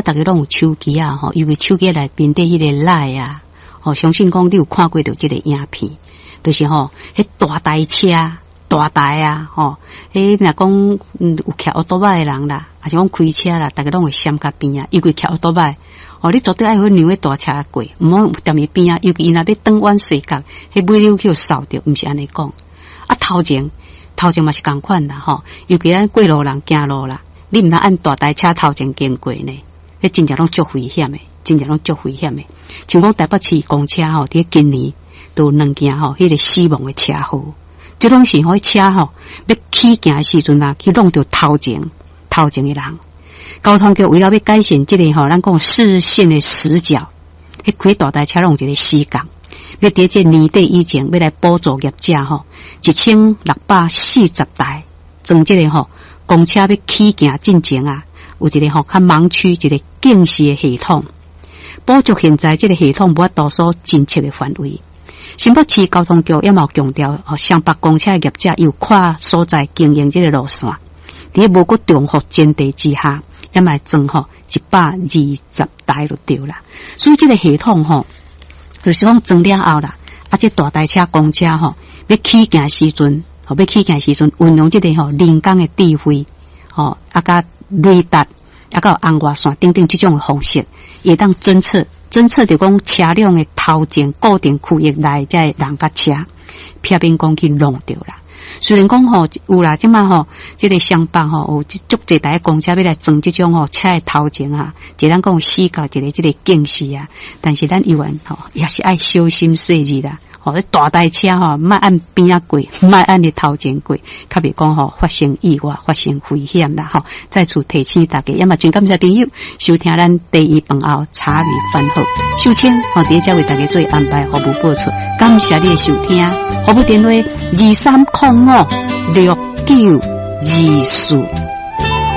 逐家攏有手機啊，吼，尤其手機內面底彼个 LINE 啊，吼，相信講你有看過著這个影片，就是吼，彼大台車大台啊，吼，彼若講有騎歐多擺的人啦，抑是講開車啦，逐家攏會閃較邊仔，尤其騎歐多擺，哦，你絕對愛去讓彼大車過，毋好踮伊邊仔，尤其伊若欲轉彎踅角，彼尾溜去予掃著，毋是按呢講。啊，頭前頭前嘛是仝款啦，吼，尤其咱過路人行路啦，你毋通按大台車頭前經過呢。彼真正攏足危險的，真正攏足危險的。像講台北市公車吼，佇今年都有兩件吼，彼个死亡的車禍，這攏是吼，車吼欲起行的時陣啊，去挵著頭前頭前的人。交通局為了欲改善這个吼，咱講視線的死角，彼開大台車攏有一個死角，欲佇這年底以前，欲來補助業者吼，1640台裝這个吼公車欲起行進前啊，有一個吼較盲區，一個警示的系統，補足現在這个系統無法度所偵測的範圍。新北市交通局也嘛有強調，吼，雙北公車業者有跨所在經營這个路線，佇無閣重複前提之下，也嘛會裝吼120台就對啦。所以這个系統吼，就是講裝了後啦，啊，這大台車公車吼，欲起行時陣，吼，欲起行時陣，運用這个吼人工的智慧，吼，啊，佮雷達，啊，佮紅外線等等這種的方式，會當偵測偵測著講車輛的頭前固定區域內這个人佮車，避免講去挵著啦。雖然講吼有啦，這馬吼這个雙北吼有足濟台公車欲來裝這種吼車的頭前啊，一咱講死角一个這个警示啊，但是咱猶原吼也是愛小心細膩啦。吼，大台車吼，莫按邊仔過，莫按你頭前過，較袂講吼發生意外、發生危險啦。吼，再次提醒大家，也嘛真感謝朋友收聽咱茶餘飯後茶餘飯後，秀清吼佇遮為大家做安排服務播出，感謝你的收聽，服務電話23056924。